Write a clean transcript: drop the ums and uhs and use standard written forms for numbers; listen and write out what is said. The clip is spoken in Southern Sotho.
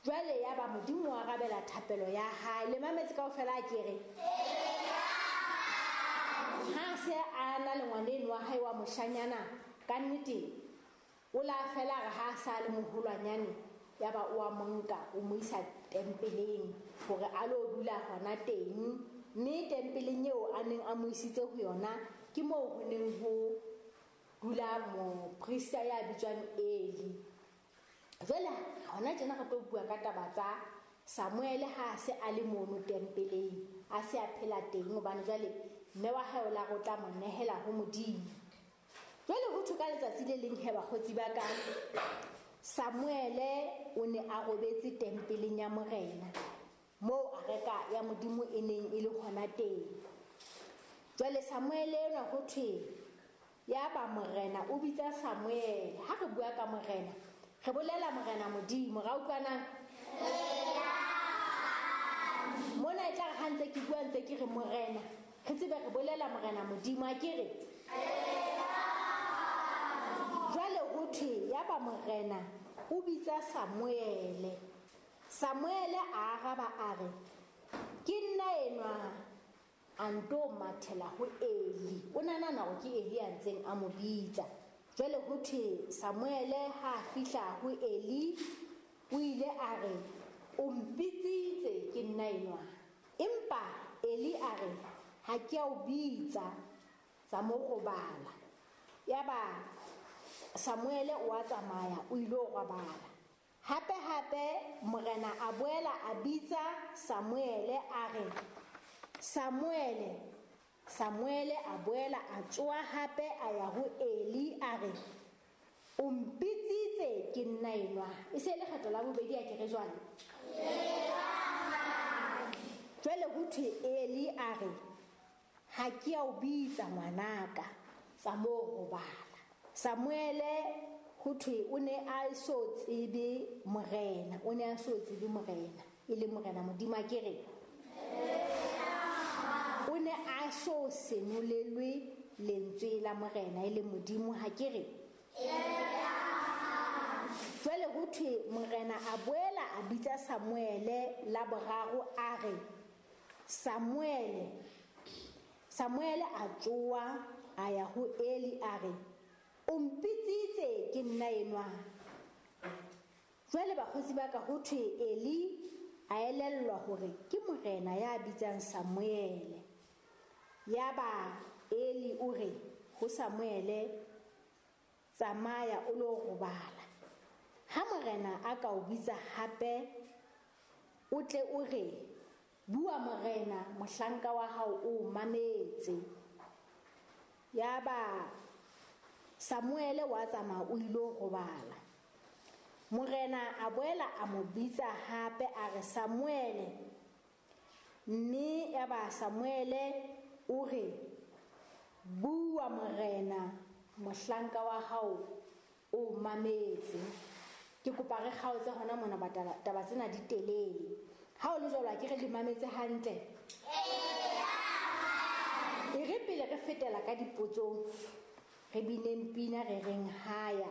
Jwale ya ba Modimo wa arabela thapelo ya hae. Le mametse kaofela a ke re ha se a na le ngwaneno wa hae wa moshanyana, ka nnete o la fela re ha sa le moholwanyane, ya ba o a monka o mo isa tempeleng hore a lo dula hona teng. Mme tempeleng eo a neng a mo isitse ho yona ke moo ho neng ho dula moprista ya bitswang Eli. Jwale hona tjena re tlo bua ka taba tsa Samuele ha a se a le mono tempeleng, a se a phela teng, hobane jwale mme wa hae o la re o tla mo nehela ho Modimo. Jwale ho thwe ka letsatsi le leng he bakgotsi ba ka, Samuele o ne a robetse tempeleng ya Morena, moo areka ya Modimo e neng e le hona teng. Jwale Samuele enwa ho thwe ya ba Morena o bitsa Samuele. Ha re bua ka Morena, re bolela Morena Modimo, ra utlwana? Mona e tla re ha ntse ke bua ntse ke re Morena, re tsebe re bolela Morena Modimo, a ke re? Jwale ho thwe ya ba Morena o bitsa Samuele. Samuele a araba a re, ke nna enwa. A nto mathela ho Eli. O nahana hore ke Eli a ntseng a mo bitsa. Jwale ho thwe Samuele ha a fihla ho Eli, o ile a re, o mpitsitse, ke nna enwa. Empa Eli a re, ha ke a o bitsa, tsa mo robala. Yaba Samuele o a tsamaya, o ile ho robala. Hape hape Morena a boela a bitsa Samuele a re, Samuele. Samuele a boela a tsoha hape a ya ho Eli a re, o mpitsitse, ke nna enwa. E se le kgetlo la bobedi a ke re jwale? Jwale ho thwe Eli a re, ha ke a o bitsa ngwanaka, tsa mo robala. Samuele ho thwe o ne a so tsebe Morena, o ne a so tsebe Morena, e le Morena Modimo a ke re? O ne a so senolelwe lentswe la Morena e le Modimo, ha ke re? Jwale ho thwe Morena a boela a bitsa Samuele la boraro a re, Samuele. Samuele a tsoha a ya ho Eli a re, o mpitsitse, ke nna enwa. Jwale bakgotsi ba ka, ho thwe Eli a elellwa hore ke Morena ya bitsang Samuele. Yaba Eli o re ho Samuele, tsamaya o lo robala. Ha Morena a ka o bitsa hape, o tle o re, bua Morena, mohlanka wa hao o mametse. Yaba Samuele wa tsamaya o ilo robala. Morena a boela a mo bitsa hape a re, Samuele. Mme yaba Samuele o re, bua Morena, mohlanka wa hao o mametse. Ke kopa re kgaotse hona mona, ba taba tsena di telele. Ha o le jwalo, a ke re le mametse hantle? E re pele re fetela ka dipotsong, re bineng pina re reng haya.